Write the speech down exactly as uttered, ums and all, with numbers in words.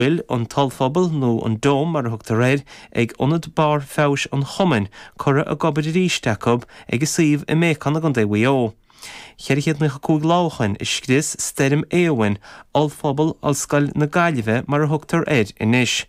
bhfuil an t-ollphuball, nó an Dome mar a thugtar air, ag Ionad Barr Feabhais an Chumainn, curtha ag obair arís acu ag a suíomh i mBéacán i gContae Mhaigh Eo. ceithre chéad naocha cúig lá ó shoin a scrios Stoirm Éowyn ollphuball Ollscoil na Gaillimhe mar a thugtar air anois.